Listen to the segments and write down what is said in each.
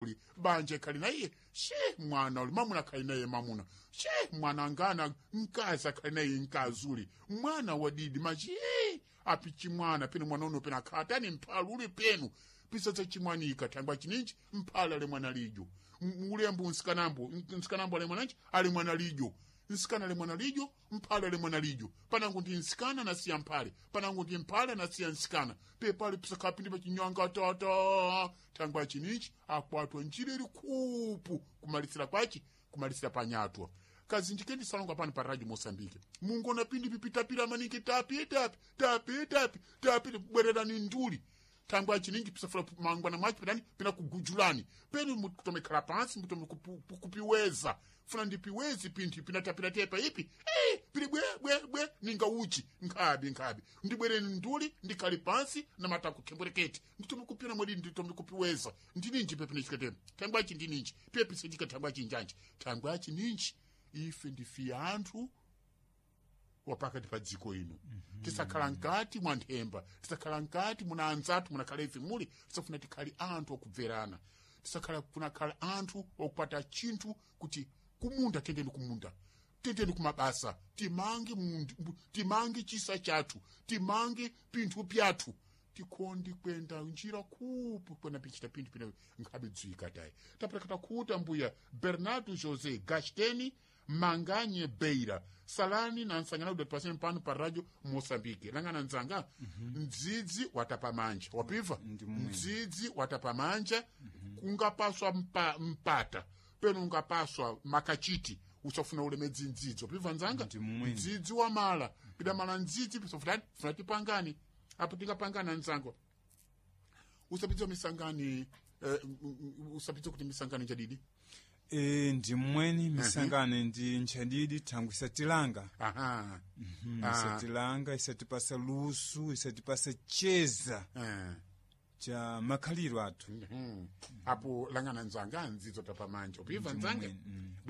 Uli banje kali naye she mwana uli mamuna kali naye mamuna she mwana ngana nkazi akali naye nkazi uli mwana wadidi machi api chimwana penu mwana uno pena khatani mphala uli penu pisatsa chimwanika thangwa chininji mphala ali mwana lijo ulembu nsikanambo nsikanambo ali mwananji ali mwana lijo nsikana ali mwana lijo mphale ali mwana lijo panango ndi nsikana nasiya mphale panango ndi mphale nasiya nsikana pepali pisakapindi pachinyanga tata thangwa chinichi akwatwa njira ili khupu kumalisira kwachi kumalisira panyatwa kazinji kendisalonga pano pa radio Moçambique mungona pindi pipitapira maningi tapi tapi tapi tapi tapi bwererani nduli thangwa chininji pisafuna mangwana mwachi penani pena kugujulani penu mutomekhala pansi mutome kupiweza funa ndipiwezi pinthu pinatapira tepa ipi pili bwe bwe bwe ninga uchi nkhabi nkhabi ndibwereni nduli ndikhali pansi na matako khembwereketi nditome kupina mwedi nditome kupiweza ndininji pepene chikatema thangwachi ndininji pepisechika thangwachi njanji thangwachi ninji ife ndife anthu wapakati pa dziko ino. Tisakhala nkati mwa nthemba, tisakhala nkati muna anzathu munakhala ife muli, tisafuna tikhale anthu okubverana, tisakhala kunakhala anthu okupata chinthu kuti kumunda tendeni kumunda tendeni kumabasa timange timange chisa chathu timange pinthu pyathu tikhondi kwenda njira khupu kwena pichita pinthu pina nkhabe dzwika tayi tapeleka khuta mbuya Bernardo José Gasteni Manganye Beira salani na nsangana udati paseni pano pa radio Moçambique langana nzanga. Mdzidzi watapa manja wapiva mdzidzi watapa manja. Kungapaswa mpata peno ungapaswa makachiti usafuna ulemedzi mdzidzi wapiva nzanga mdzidzi wamala pidamala mdzidzi pisofutani funa tipangani apo tingapangana nzango usapitsa misangani usapitsa kuti misangani njadidi. Ndimweni misangano ndi nchadidi thangwi isatilanga. Aha. Isatilanga isatipasa lusu isatipasa cheza cha makhaliro athu. Apo langana nzanga nzidzo tapamanja upiva nzanga.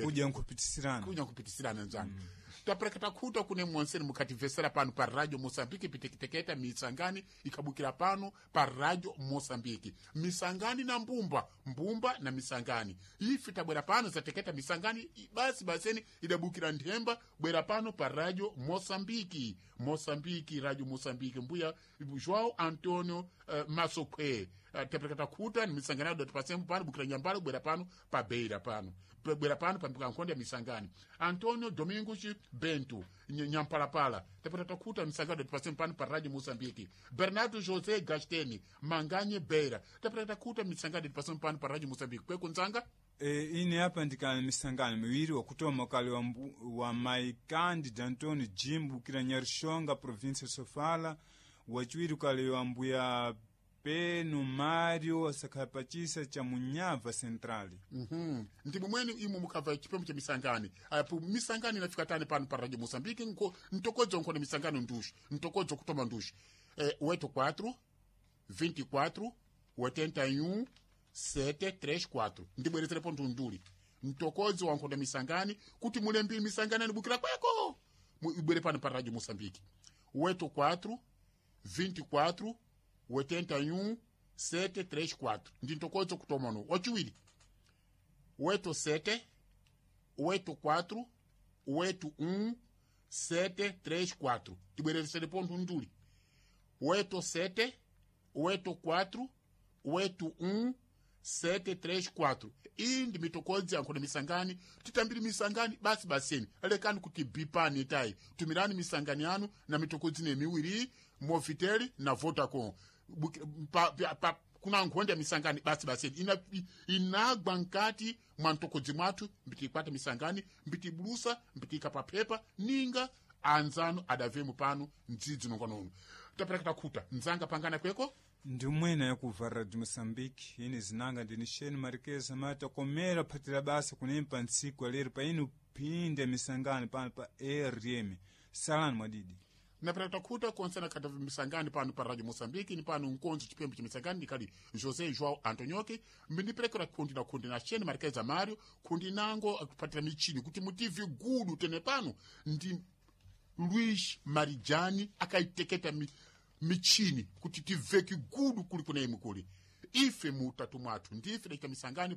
Kudya nkupitisirana kunya kupitisirana nzanga. Tapereka takhuta kune mwonseni mukhativesera pano pa radio Moçambique pitekiteketa misangani ikhabukira pano pa radio Moçambique misangani na mbumba mbumba na misangani ife tabwera pano zateketa misangani basi baseni idabukira nthemba bwera pano pa radio Moçambique Moçambique radio Moçambique mbuya João Antonio Masokhwe tapereka takhuta ni misangani adati pasemu pano bukira nyambalo bwera pano pa beira pano bwera pano pambuka nkhonde ya misangani Antonio Domingos Bento Nyampalapala tapata takhuta misangano pasemu pano pa radio Moçambique Bernardo José Gasteni Manganye Beira tapata takhuta misangano pasemu pano pa radio Moçambique kweko nzanga. Ine apa ndikana misangano miwiri wakutoma kale wa mai Cândido Antônio Jimbo kila Nyarixonga província Sofala wachiwiri kale wa mbuya Peno Mário asakhapachisa cha Munyava Central. Ndi momweni imwe mukhabva chipemo cha misangani apo misangani inafika tani pano pa radio Moçambique ntokodzo nkhona misangano nduxi ntokodzo kutoma nduxi 84 24 81 734 ndibwerezerepo ndunduli ntokodzo wankhona misangani kuti mulembiri misangani anibukira kweko ibwere pano pa radio Moçambique 84 24 81 734 ndi ntokodzo kutomano wachiwiri 87 84 81 734 tibwereresere pontho nduli 87 84 81 734 iyi ndi mitokodzi yankhona misangani titambiri misangani basi baseni lekani kuti bipani tayi tumirani misangani yanu na mitokodzi ne miwiri Movitel na Vodacom kuna nkhonde ya misangani basi baseni inagwa nkati mwa mtokodzi mwathu mbitikwata misangani mbitibulusa mbitika paphepa ninga anzanu adavemu pano mdzidzi nonganono tapereka takhuta nzanga pangana kweko. Ndimwene yakuva radio Moçambique ine zinanga ndini Sheni Marquez mata komera phatira basa kunempa ntsiku alero pa inu phinde misangano pano pa RM salani mwadidi. Napera takhuta konsena khata misangani pano pa radio Moçambique ni pano nkonzo chipembe cha misangani ndikali José João Antonioque mbindiperekera khundi na khundi na Sheni Marquez Mario khundi nango akupatira michini kuti mutivi gudu tene pano ndi Luis Marijani akaiteketa michini kuti tiveki gudu kuli kuna imwe kuli. Ife mu utatu mwathu ndife dacita misangano.